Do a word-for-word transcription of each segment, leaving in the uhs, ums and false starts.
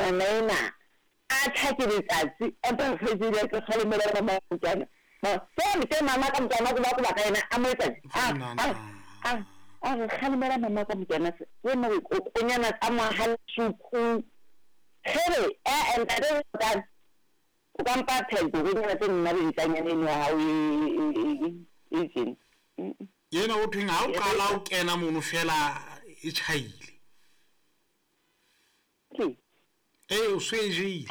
Ngwana ena a tjha ke letsatsi a tla kgaitsedi ya ka kgalemela mama motwana. Se ke mama ka motwana ko ba ko ba ka yena a mo etsa a a a a re kgalemela mama ka motwana se wena o konyana tsa mohalesuku here e ntate o ka o ka mpa phela dikonyana tse nna le ntlanyana eno ya hao e e tjena. Yena o thweng ha o qala o kena mono fela e tjhaile. Ke Ee, o so e jele.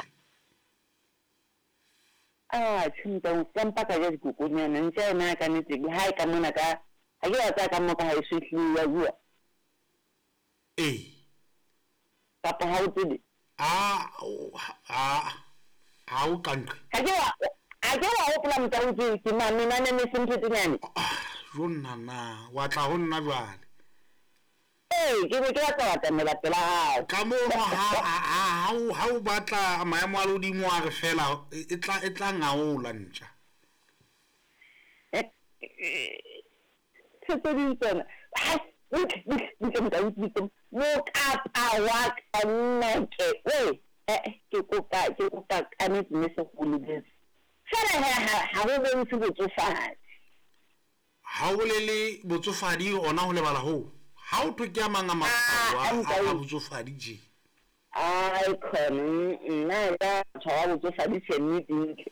Ah, tjhe o ka mpa ka ja dikokonyana ntja yona ka nnete ha e ka mona ka ha ke wa tsaya ka mo ka ha e so ehlile ya bua. Ee. Kapa ha o tsebe. A a ha o kanqe. Ha ke wa ha ke wa hopola motho ke ke mamenane ne se ntho tsenyane. Jo nna wa tla ho nna jwale. Ee, ke ne ke batla ho atamela pela hao. Ka mono ha ha ha o batla maemo a lehodimo a re fela e tla e tla ngaola ntja. Tse ding tsona mokapa wa ka nna ke we eh ke kopa ke kopa ka nnete mme se go lebetse fela he ha ho bontshe botsofadi. Ha o bolele botsofadi ona ho lebala ho. Ha o thwe ke a mang a matshwao a botsofadi je. Ai khona nna ya tshwara botsofadi tjhe nnete ntle.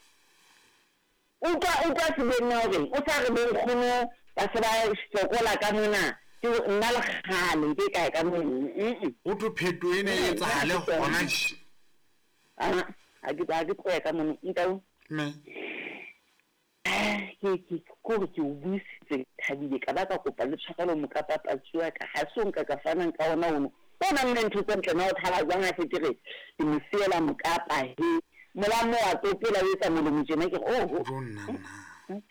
Utlwa utlwa sebeng hore o sa re bonkgono ba se ba sokola ka mona ke nna le kgale ke kae ka mona. O thwe pheto ena e etsahale hona tje. Ah, ha ke ha ke tloya ka mona ntau. Mme ke ke kore ke o buisitse thabile ka ba ka kopa le tshwarelo mokapa patsi wa ka ha se o nka ka fanang ka ona ono. O nang le ntho tse ntle na o thaba jwang ha se ke re ke mo siela mokapa he molamo wa tsopela o etsa molomo tjena ke re oho. Jo nna nna.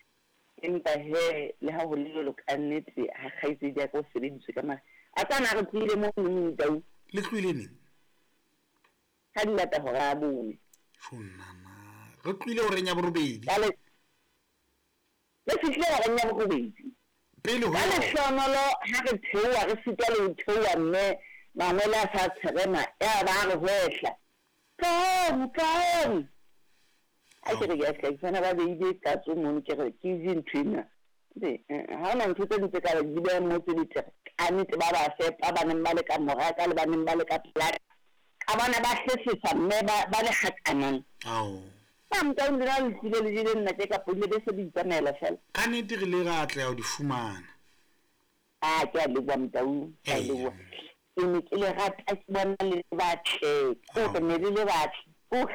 Empa he le ha ho le jwalo ka nnete ha kgaitsedi ya ka o sebediswe ka mare a tsana re tlohile mo ntau. Le tlohile neng? Ha di lata hora ya bone. Jo nna nna. Re tlohile horeng ya borobedi. Ka le le fihlile horeng ya borobedi. Pele ho ka lehlohonolo ha re theoha re sitwa le ho theoha mme mangwele a sa tsherema ya ba re hwehla. Tlohong, tlohong. A ke re ke a ska ke tsena ba beile katso mono ke re ke je ntho ena. Ha hona ntho tse ding tse ka di beha mo tse betere. Ka nnete ba ba fepa ba neng ba le ka mora ka le ba neng ba le ka pela. Ka bona ba hlehlisa mme ba ba le hakanang. Ao. Ba motho o nna le tlile le jele nna ke ka pole be se di tsamaela fela. Ka nnete re le ra atleha ho di fumana. Ah, ke a leboha motau, ke a leboha. Ke ne ke le rata ke bona le batle. Ko ne le le batle. O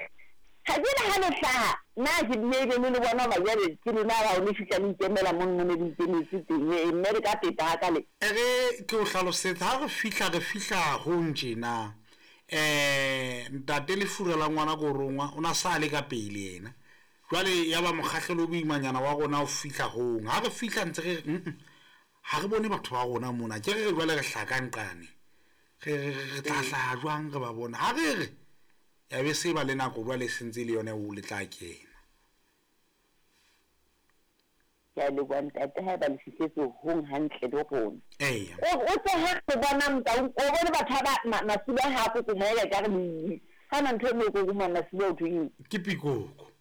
ha ke le ha le hlaha nna ke bile le le bona ba jwale ke lona ba o le fihla le ikemela mo mo ne le ikemetse teng e mme re ka peta ha ka le. E re ke o hlalosetsa ha re fihla re fihla ho ntjena. Eh ntate le fura la ngwana ko rongwa o na sa le ka pele yena. Jwale ya ba mokgahlelo o boimanyana wa rona o fihla hong. Ha re fihla ntse re ha re bone batho ba rona mona. Ke re jwale re hlakanqane. Re re tla hlaha jwang re ba bona. Ha re re ya be se ba le nako jwale sentse le yona o le tla kena. Ke a leboha ntate ha ba le fihletse hong hantle le rona. Ee. O o tse ha re bona motau o bone batho ba masiba ha go komoela ka re le ha na ntho e mo go kuma masiba o thweng. Ke pikoko.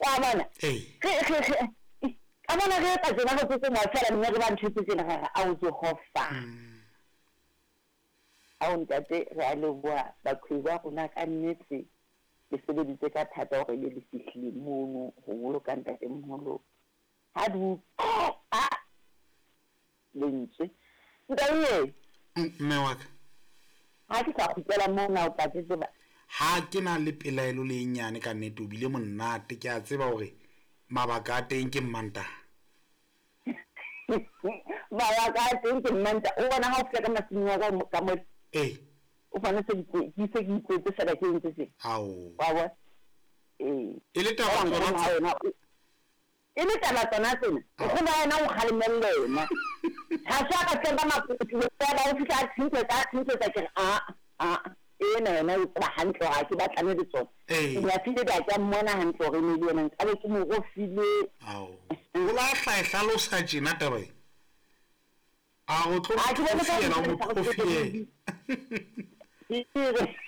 Wa bona? Ee. Re re re ka bona re etsa tsena go kokomoa fela mme re ba ntho tse tsena ga a o Jehova. Ao ntate re a leboha bakgweetsi ba rona ka nnete le sebeditse ka thata hore le le fihlile mono ho boloka ntatemoholo. Ha du a lentswe. Ntate Mme wa ka. Ha ke sa kgutlela mona o tla tseba. Ha ke na le pelaelo le nyane ka nnete o bile monate ke a tseba hore mabaka a teng ke Mmantaha. Mabaka a teng ke Mmantaha. O bona ha o fihla ka masimong wa ka ka mo. Ee. O fana se ke se ke ikwetse fela ke ntse se. Ao. Wa bona? Ee. E le taba tsona. E le taba tsona tsena. O kgona yena o kgalemelle yena. Ha sa ka tseba makutu ba ba o fihla a tsintsetsa a tsintsetsa ke re a a ena yena o tseba hantle hore ha ke batlane le tsona. Ee. Ke a file ba ka mmona hantle hore ne le yena nkabe ke mo rofile. Ao. O la hla e hlalosa tjena taba e. A o tlo A ke bone ka o mo Ke re